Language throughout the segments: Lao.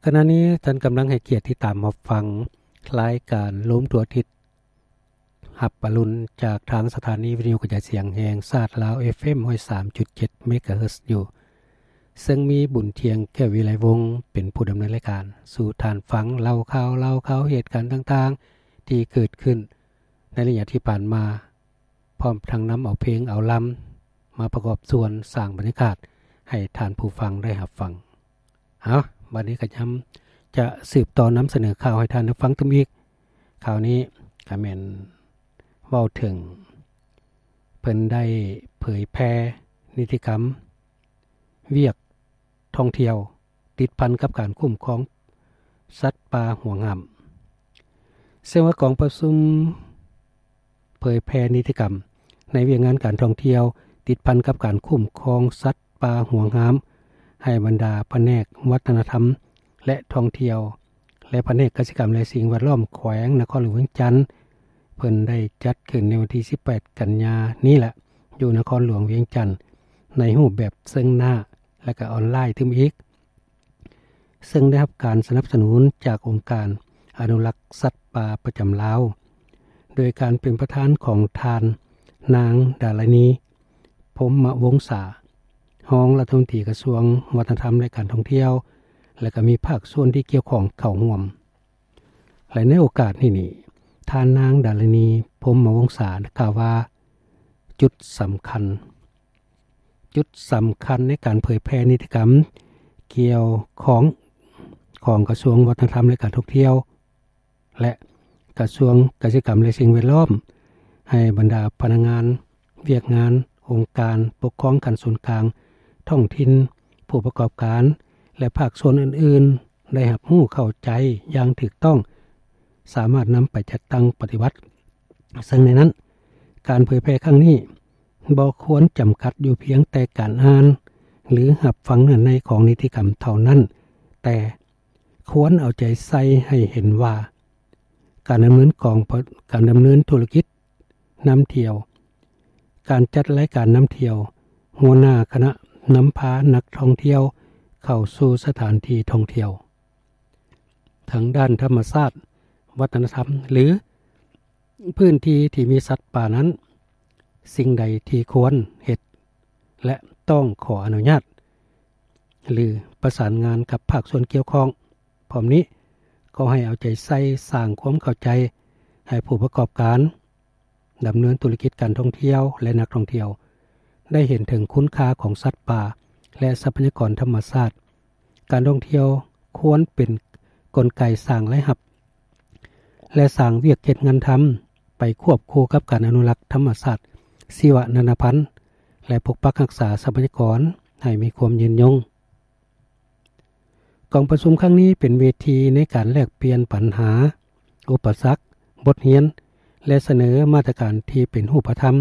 ຂະນະນີ້ທ່ານກຳລັງໃຫ້ກຽດຕິດຕາມຮັບຟັງລາຍການໂລມທົ່ວທິດ ຮັບອະລຸນ ຈາກທາງສະຖານີວິທະຍຸກະຈາຍສຽງແຫ່ງຊາດລາວ ເອັຟເອັມ ຮ້ອຍສາມຈຸດເຈັດ ເມກາເຮີດຢູ່ ເຊິ່ງມີບຸນທຽງ ແກ້ວວິໄລວົງ ເປັນຜູ້ດຳເນີນລາຍການ ສູ່ທ່ານຟັງເລົ່າຂ່າວ ເລົ່າຂ່າວເຫດການຕ່າງໆ ທີ່ເກີດຂຶ້ນໃນໄລຍະທີ່ຜ່ານມາ ພ້ອມທັງນຳເອົາເພງເອົາລຳມາປະກອບສ່ວນສ້າງບັນຍາກາດໃຫ້ທ່ານຜູ້ຟັງໄດ້ຮັບຟັງ. ເອົາ ບັດນີ້ກໍຍາມຈະສືບຕໍ່ນຳສະເໜີຂ່າວໃຫ້ທ່ານໄດ້ຟັງຕື່ມອີກ. ຂ່າວນີ້ກໍແມ່ນເວົ້າເຖິງ ເພິ່ນໄດ້ເຜີຍແຜ່ນິຕິກຳ ວຽກທ່ອງທ່ຽວ ຕິດພັນກັບການຄຸ້ມຄອງສັດປ່າຫວງຫ້າມ. ເຊິ່ງວ່າກອງປະຊຸມເຜີຍແຜ່ນິຕິກຳໃນວຽກງານການທ່ອງທ່ຽວ ຕິດພັນກັບການຄຸ້ມຄອງສັດປ່າຫວງຫ້າມ ໃຫ້ບັນດາພະແນກວັດທະນະທຳ ແລະ ທ່ອງທ່ຽວ ແລະ ພະແນກກະສິກຳ ແລະ ສິ່ງແວດລ້ອມ ແຂວງນະຄອນຫຼວງວຽງຈັນ ເພິ່ນໄດ້ຈັດຂຶ້ນໃນວັນທີສິບແປດ ກັນຍານີ້ແຫຼະ ຢູ່ນະຄອນຫຼວງວຽງຈັນ ໃນຮູບແບບເຊິ່ງໜ້າ ແລະ ກະອອນລາຍຕື່ມອີກ ເຊິ່ງໄດ້ຮັບການສະໜັບສະໜູນຈາກອົງການອະນຸລັກສັດປ່າປະຈຳລາວ ໂດຍການເປັນປະທານຂອງທ່ານນາງ ດາລານີ ພົມມະວົງສາ ຮອງລັດຖະມົນຕີກະຊວງວັດທະນະທຳ ແລະ ການທ່ອງທ່ຽວ ແລະ ກໍມີພາກສ່ວນທີ່ກ່ຽວຂ້ອງເຂົ້າຮ່ວມ. ແລະ ໃນໂອກາດນີ້ນີ້ ທ່ານນາງ ດາລານີ ພົມມະວົງສາ ກ່າວວ່າ ຈຸດສຳຄັນ ຈຸດສຳຄັນໃນການເຜີຍແຜ່ນິຕິກຳກ່ຽວຂ້ອງຂອງກະຊວງວັດທະນະທຳ ແລະ ການທ່ອງທ່ຽວ ແລະ ກະຊວງກະສິກຳ ແລະ ສິ່ງແວດລ້ອມ ໃຫ້ບັນດາພະນັກງານ ວຽກງານ ອົງການປົກຄອງຂັ້ນສູນກາງ, ທ້ອງຖິ່ນ, ຜູ້ປະກອບການ ແລະ ພາກສ່ວນອື່ນໆ ໄດ້ຮັບຮູ້ເຂົ້າໃຈຢ່າງຖືກຕ້ອງ, ສາມາດນຳໄປຈັດຕັ້ງປະຕິບັດ. ເຊິ່ງໃນນັ້ນ, ການເຜີຍແຜ່ຄັ້ງນີ້ບໍ່ຄວນຈຳກັດຢູ່ພຽງແຕ່ການອ່ານ ຫຼື ຮັບຟັງເນື້ອໃນຂອງນິຕິກຳເທົ່ານັ້ນ, ແຕ່ຄວນເອົາໃຈໃສ່ໃຫ້ເຫັນວ່າ ການດຳເນີນກອງ ການດຳເນີນທຸລະກິດນຳທ່ຽວ, ການຈັດລາຍການນຳທ່ຽວ, ຫົວໜ້າຄະນະນຳພານັກທ່ອງທ່ຽວເຂົ້າສູ່ສະຖານທີ່ທ່ອງທ່ຽວ ທາງດ້ານທຳມະຊາດ, ວັດທະນະທຳ ຫຼື ພື້ນທີ່ທີ່ມີສັດປ່ານັ້ນ, ສິ່ງໃດທີ່ຄວນເຮັດ ແລະ ຕ້ອງຂໍອະນຸຍາດ ຫຼື ປະສານງານກັບພາກສ່ວນກ່ຽວຂ້ອງ. ພ້ອມນີ້ກໍໃຫ້ເອົາໃຈໃສ່ສ້າງຄວາມເຂົ້າໃຈໃຫ້ຜູ້ປະກອບການ ດຳເນີນທຸລະກິດການທ່ອງທ່ຽວ ແລະ ນັກທ່ອງທ່ຽວ ໄດ້ເຫັນເຖິງຄຸນຄ່າຂອງສັດປ່າ ແລະ ຊັບພະຍາກອນທຳມະຊາດ. ການທ່ອງທ່ຽວຄວນເປັນກົນໄກສ້າງລາຍຮັບ ແລະ ສ້າງວຽກເຮັດງານທຳ ໄປຄວບຄູ່ກັບການອະນຸລັກທຳມະຊາດ, ຊີວະນານາພັນ ແລະ ປົກປັກຮັກສາຊັບພະຍາກອນໃຫ້ມີຄວາມຍືນຍົງ. ກອງປະຊຸມຄັ້ງນີ້ເປັນເວທີໃນການແລກປ່ຽນບັນຫາ, ອຸປະສັກ, ບົດຮຽນ ແລະ ສະເໜີມາດຕະການທີ່ເປັນຮູບປະທຳ,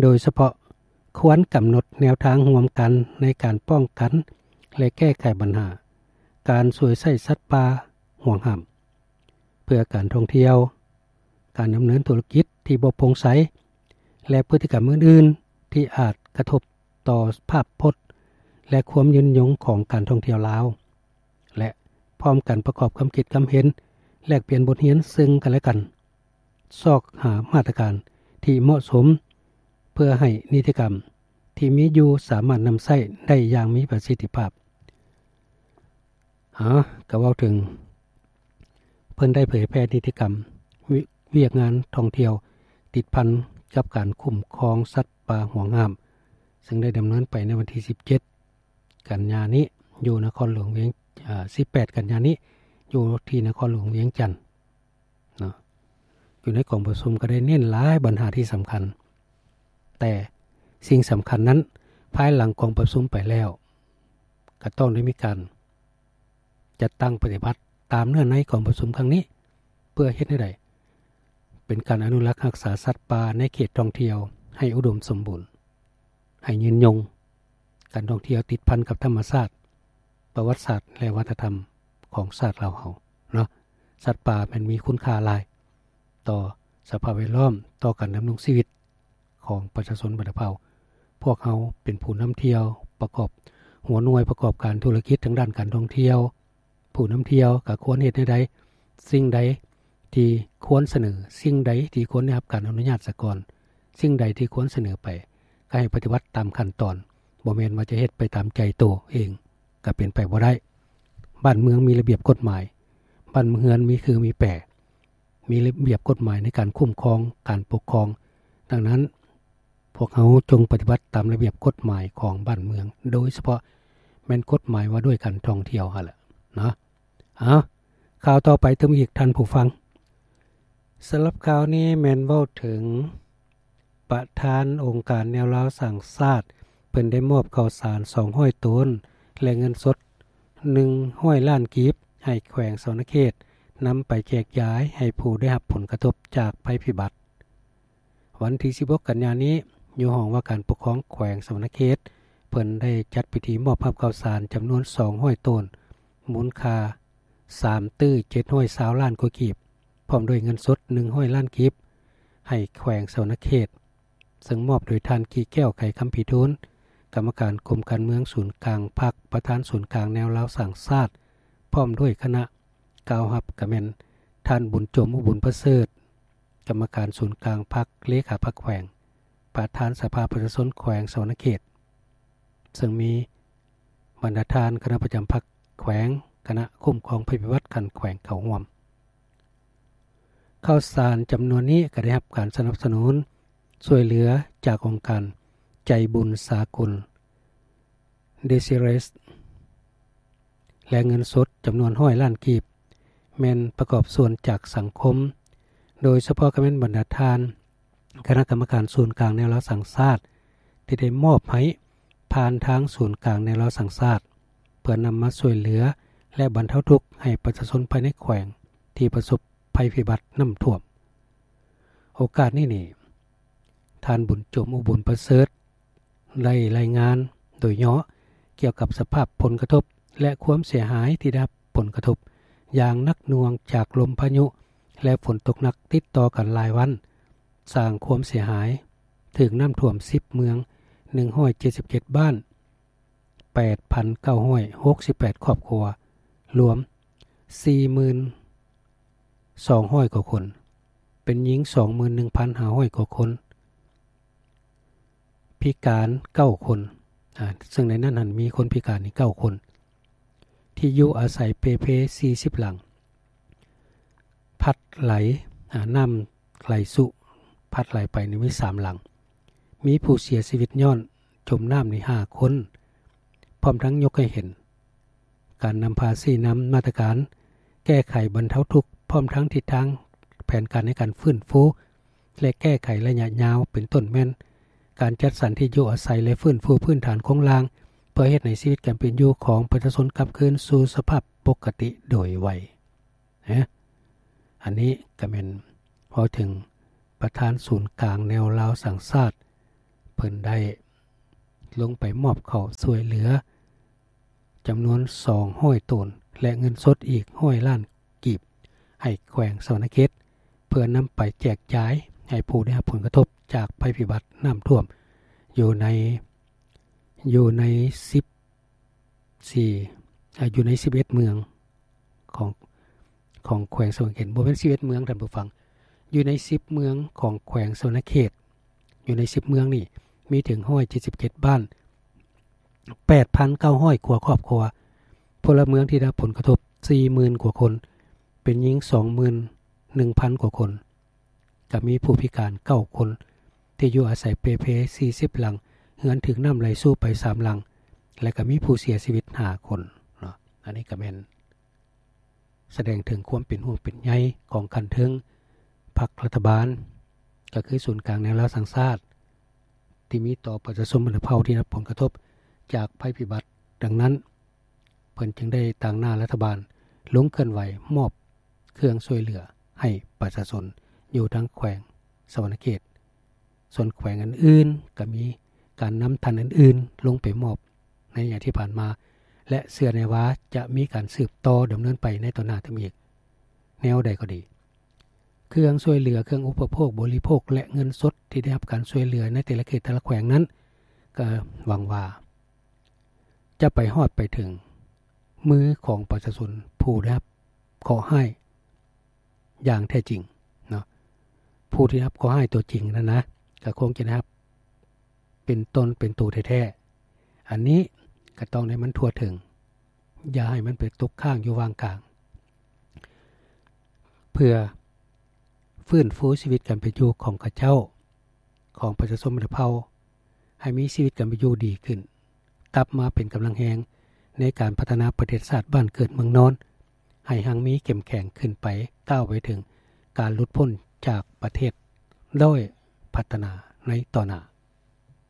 ໂດຍສະເພາະຄວນກຳນົດແນວທາງຮ່ວມກັນໃນການປ້ອງກັນ ແລະ ແກ້ໄຂບັນຫາການສວຍໃຊ້ສັດປ່າຫວງຫ້າມ ເພື່ອການທ່ອງທ່ຽວ, ການດຳເນີນທຸລະກິດທີ່ບໍ່ໂປ່ງໃສ ແລະ ພຶດຕິກຳອື່ນໆ ທີ່ອາດກະທົບຕໍ່ພາບພົດ ແລະ ຄວາມຍືນຍົງຂອງການທ່ອງທ່ຽວລາວ ແລະ ພ້ອມກັນປະກອບຄວາມຄິດຄວາມເຫັນ ແລກປ່ຽນບົດຮຽນເຊິ່ງກັນແລະກັນ, ຊອກຫາມາດຕະການທີ່ເໝາະສົມ ເພື່ອໃຫ້ນິຕິກຳທີ່ມີຢູ່ສາມາດນຳໃຊ້ໄດ້ຢ່າງມີປະສິດທິພາບ. ອາ ກໍເວົ້າເຖິງ ເພິ່ນໄດ້ເຜີຍແຜ່ນິຕິກຳ ວຽກງານທ່ອງທ່ຽວ ຕິດພັນກັບການຄຸ້ມຄອງສັດປ່າຫວງຫ້າມ ເຊິ່ງໄດ້ດຳເນີນໄປໃນວັນທີສິບເຈັດ ກັນຍານີ້ ຢູ່ນະຄອນຫຼວງວຽງ ອາ ສິບແປດ ກັນຍານີ້ ຢູ່ທີ່ນະຄອນຫຼວງວຽງຈັນເນາະ. ຢູ່ໃນກອງປະຊຸມກໍໄດ້ເນັ້ນຫຼາຍບັນຫາທີ່ສຳຄັນ, ແຕ່ສິ່ງສຳຄັນນັ້ນ ພາຍຫຼັງກອງປະຊຸມໄປແລ້ວ ກໍຕ້ອງໄດ້ມີການຈັດຕັ້ງປະຕິບັດຕາມເນື້ອໃນກອງປະຊຸມຄັ້ງນີ້ ເພື່ອເຮັດໃຫ້ໄດ້ເປັນການອະນຸລັກຮັກສາສັດປ່າໃນເຂດທ່ອງທ່ຽວໃຫ້ອຸດົມສົມບູນ, ໃຫ້ຍືນຍົງ. ການທ່ອງທ່ຽວຕິດພັນກັບທຳມະຊາດ, ປະຫວັດສາດ ແລະ ວັດທະນະທຳຂອງຊາດລາວເຮົາເນາະ. ສັດປ່າແມ່ນມີຄຸນຄ່າຫຼາຍຕໍ່ສະພາບແວດລ້ອມ, ຕໍ່ການດຳລົງຊີວິດຂອງປະຊາຊົນບັນດາເຜົ່າ. ພວກເຮົາເປັນຜູ້ນຳທ່ຽວ, ປະກອບ ຫົວໜ່ວຍປະກອບການທຸລະກິດທາງດ້ານການທ່ອງທ່ຽວ, ຜູ້ນຳທ່ຽວກໍຄວນເຮັດແນວໃດ, ສິ່ງໃດທີ່ຄວນສະເໜີ, ສິ່ງໃດທີ່ຄວນໄດ້ຮັບການອະນຸຍາດສາກ່ອນ, ສິ່ງໃດທີ່ຄວນສະເໜີໄປ ກໍໃຫ້ປະຕິບັດຕາມຂັ້ນຕອນ, ບໍ່ແມ່ນວ່າຈະເຮັດໄປຕາມໃຈໂຕເອງ, ກໍເປັນໄປບໍ່ໄດ້. ບ້ານເມືອງມີລະບຽບກົດໝາຍ, ບ້ານເຮືອນມີຄືມີແປ, ມີລະບຽບກົດໝາຍໃນການຄຸ້ມຄອງການປົກຄອງ. ດັ່ງນັ້ນ, ພວກເຮົາຈົ່ງປະຕິບັດຕາມລະບຽບກົດໝາຍຂອງບ້ານເມືອງ, ໂດຍສະເພາະແມ່ນກົດໝາຍວ່າດ້ວຍການທ່ອງທ່ຽວຫັ້ນແຫຼະເນາະ. ເອົາ, ຂ່າວຕໍ່ໄປຕື່ມອີກທ່ານຜູ້ຟັງ. ສຳລັບຂ່າວນີ້ແມ່ນເວົ້າເຖິງປະທານອົງການແນວລາວສ້າງຊາດ, ເພິ່ນໄດ້ມອບເຂົ້າສານສອງຮ້ອຍໂຕນ ແລະ ເງິນສົດໜຶ່ງຮ້ອຍລ້ານກີບ ໃຫ້ແຂວງສະຫວັນນະເຂດ ນຳໄປແຈກຢາຍໃຫ້ຜູ້ໄດ້ຮັບຜົນກະທົບຈາກໄພພິບັດ. ວັນທີສິບຫົກກັນຍານີ້, ຢູ່ຫ້ອງວ່າການປົກຄອງແຂວງສະຫວັນນະເຂດ, ເພິ່ນໄດ້ຈັດພິທີມອບຮັບເຂົ້າສານຈຳນວນສອງຮ້ອຍໂຕນ, ມູນຄ່າສາມຕື້ເຈັດຮ້ອຍຊາວລ້ານກວ່າກີບ, ພ້ອມດ້ວຍເງິນສົດໜຶ່ງຮ້ອຍລ້ານກີບ ໃຫ້ແຂວງສະຫວັນນະເຂດ, ເຊິ່ງມອບໂດຍທ່ານ ກີແກ້ວ ໄຂຄຳພີທູນ, ກຳມະການກົມການເມືອງສູນກາງພັກ, ປະທານສູນກາງແນວລາວສ້າງຊາດ, ພ້ອມດ້ວຍຄະນະ. ກ່າວຮັບກໍແມ່ນທ່ານ ບຸນໂຈມ ອຸບຸນປະເສີດ, ກຳມະການສູນກາງພັກ, ເລຂາພັກແຂວງ, ປະທານສະພາປະຊາຊົນແຂວງສະຫວັນນະເຂດ, ເຊິ່ງມີບັນດາທ່ານຄະນະປະຈຳພັກແຂວງ, ຄະນະຄຸ້ມຄອງໄພພິບັດຂັ້ນແຂວງເຂົ້າຮ່ວມ. ເຂົ້າສານຈຳນວນນີ້ກໍໄດ້ຮັບການສະໜັບສະໜູນຊ່ວຍເຫຼືອຈາກອົງການໃຈບຸນສາກົນ ເດຊິເຣສ ແລະ ເງິນສົດຈຳນວນຮ້ອຍລ້ານກີບ ແມ່ນປະກອບສ່ວນຈາກສັງຄົມ, ໂດຍສະເພາະກໍແມ່ນບັນດາທ່ານຄະນະກຳມະການສູນກາງແນວລາວສ້າງຊາດ ທີ່ໄດ້ມອບໃຫ້ຜ່ານທາງສູນກາງແນວລາວສ້າງຊາດ ເພື່ອນຳມາຊ່ວຍເຫຼືອ ແລະ ບັນເທົາທຸກໃຫ້ປະຊາຊົນພາຍໃນແຂວງທີ່ປະສົບໄພພິບັດນ້ຳຖ້ວມ. ໂອກາດນີ້ນີ້ ທ່ານ ບຸນໂຈມ ອຸບຸນປະເສີດ ໄດ້ລາຍງານໂດຍຫຍໍ້ກ່ຽວກັບສະພາບຜົນກະທົບ ແລະ ຄວາມເສຍຫາຍທີ່ໄດ້ຮັບຜົນກະທົບຢ່າງໜັກໜ່ວງຈາກລົມພາຍຸ ແລະ ຝົນຕົກໜັກຕິດຕໍ່ກັນຫຼາຍວັນ, ສ້າງຄວາມເສຍຫາຍ, ຖືກນ້ຳຖ້ວມສິບເມືອງ, ໜຶ່ງຮ້ອຍເຈັດສິບເຈັດບ້ານ, ແປດພັນເກົ້າຮ້ອຍຫົກສິບແປດຄອບຄົວ, ລວມສີ່ໝື່ນສອງຮ້ອຍກວ່າຄົນ, ເປັນຍິງສອງໝື່ນໜຶ່ງພັນຫ້າຮ້ອຍກວ່າຄົນ, ພິການເກົ້າຄົນ, ອາ, ເຊິ່ງໃນນັ້ນຫັ້ນມີຄົນພິການນີ້ເກົ້າຄົນ, ທີ່ຢູ່ອາໄສເປ່ເພສີ່ສິບຫຼັງ, ພັດໄຫຼ, ອາ, ນ້ຳໄຫຼຊຸ, ພັດໄຫຼໄປນີ້ມີສາມຫຼັງ, ມີຜູ້ເສຍຊີວິດຍ້ອນຈົມນ້ຳນີ້ຫ້າຄົນ, ພ້ອມທັງຍົກໃຫ້ເຫັນ ການນຳພາຊີ້ນຳມາດຕະການແກ້ໄຂບັນເທົາທຸກ ພ້ອມທັງທິດທາງແຜນການໃນການຟື້ນຟູ ແລະ ແກ້ໄຂໄລຍະຍາວ ເປັນຕົ້ນແມ່ນການຈັດສັນທີ່ຢູ່ອາໄສ ແລະ ຟື້ນຟູພື້ນຖານໂຄງລ່າງ ເພື່ອເຮັດໃຫ້ຊີວິດການເປັນຢູ່ຂອງປະຊາຊົນກັບຄືນສູ່ສະພາບປົກກະຕິໂດຍໄວ. ນະ ອັນນີ້ກໍແມ່ນເວົ້າເຖິງປະທານສູນກາງແນວລາວສ້າງຊາດ ເພິ່ນໄດ້ລົງໄປມອບເຂົ້າຊ່ວຍເຫຼືອຈຳນວນສອງຮ້ອຍໂຕນ ແລະ ເງິນສົດອີກຮ້ອຍລ້ານກີບ ໃຫ້ແຂວງສະຫວັນນະເຂດ ເພື່ອນຳໄປແຈກຈ່າຍໃຫ້ຜູ້ໄດ້ຮັບຜົນກະທົບຈາກໄພພິບັດນ້ຳຖ້ວມ ຢູ່ໃນ ຢູ່ໃນສິບ ສີ່ ອາ ຢູ່ໃນສິບເອັດເມືອງຂອງ ຂອງແຂວງສະຫວັນນະເຂດ, ບໍ່ແມ່ນສິບເອັດເມືອງ ທ່ານຜູ້ຟັງ, ຢູ່ໃນສິບເມືອງຂອງແຂວງສະຫວັນນະເຂດ, ຢູ່ໃນສິບເມືອງນີ້ມີເຖິງຮ້ອຍເຈັດສິບເຈັດບ້ານ, ແປດພັນເກົ້າຮ້ອຍກວ່າຄອບຄົວ, ພົນລະເມືອງທີ່ໄດ້ຮັບຜົນກະທົບສີ່ໝື່ນກວ່າຄົນ, ເປັນຍິງສອງໝື່ນໜຶ່ງພັນກວ່າຄົນ. ກໍມີຜູ້ພິການເກົ້າຄົນ ທີ່ຢູ່ອາໄສເປ່ເພສີ່ສິບຫຼັງ, ເຮືອນຖືກນ້ຳໄຫຼຊຸໄປສາມຫຼັງ ແລະ ກໍມີຜູ້ເສຍຊີວິດຫ້າຄົນເນາະ. ອັນນີ້ກໍແມ່ນສະແດງເຖິງຄວາມເປັນຫ່ວງເປັນໃຍຂອງຂັ້ນເທິງພັກລັດຖະບານ, ກໍຄືສູນກາງແນວລາວສ້າງຊາດ ທີ່ມີຕໍ່ປະຊາຊົນບັນດາເຜົ່າທີ່ໄດ້ຮັບຜົນກະທົບຈາກໄພພິບັດ. ດັ່ງນັ້ນ, ເພິ່ນຈຶ່ງໄດ້ຕາງໜ້າລັດຖະບານລົງເຄື່ອນໄຫວມອບເຄື່ອງຊ່ວຍເຫຼືອໃຫ້ປະຊາຊົນຢູ່ທັງແຂວງສະຫວັນນະເຂດ. ສ່ວນແຂວງອື່ນໆ ກໍມີການນຳທ່ານອື່ນໆລົງໄປມອບໃນໄລຍະທີ່ຜ່ານມາ ແລະ ເຊື່ອແນ່ວ່າຈະມີການສືບຕໍ່ດຳເນີນໄປໃນຕໍ່ໜ້າຕື່ມອີກ. ແນວໃດກໍດີ, ເຄື່ອງຊ່ວຍເຫຼືອ, ເຄື່ອງອຸປະໂພກບໍລິໂພກ ແລະ ເງິນສົດທີ່ໄດ້ຮັບການຊ່ວຍເຫຼືອໃນແຕ່ລະເຂດແຕ່ລະແຂວງນັ້ນ, ກໍຫວັງວ່າຈະໄປຮອດໄປເຖິງມືຂອງປະຊາຊົນ ຜູ້ໄດ້ຮັບເຄາະຮ້າຍຢ່າງແທ້ຈິງເນາະ. ຜູ້ທີ່ຮັບເຄາະຮ້າຍຕົວຈິງນັ້ນນະ ກໍຄົງຈະໄດ້ຮັບເປັນຕົນເປັນໂຕແທ້ໆ. ອັນນີ້ກໍຕ້ອງໃຫ້ມັນທົ່ວເຖິງ, ຢ່າໃຫ້ມັນໄປຕົກຄ້າງຢູ່ຫວ່າງກາງ, ເພື່ອຟື້ນຟູຊີວິດການເປັນຢູ່ຂອງເຂົາເຈົ້າ, ຂອງປະຊາຊົນບັນດາເຜົ່າ ໃຫ້ມີຊີວິດການເປັນຢູ່ດີຂຶ້ນ, ກັບມາເປັນກຳລັງແຮງໃນການພັດທະນາປະເທດຊາດບ້ານເກີດເມືອງນອນ ໃຫ້ຮັ່ງມີເຂັ້ມແຂງຂຶ້ນໄປ, ກ້າວໄປເຖິງການຫຼຸດພົ້ນຈາກປະເທດດ້ອຍພັດທະນາໃນຕໍ່ໜ້າ.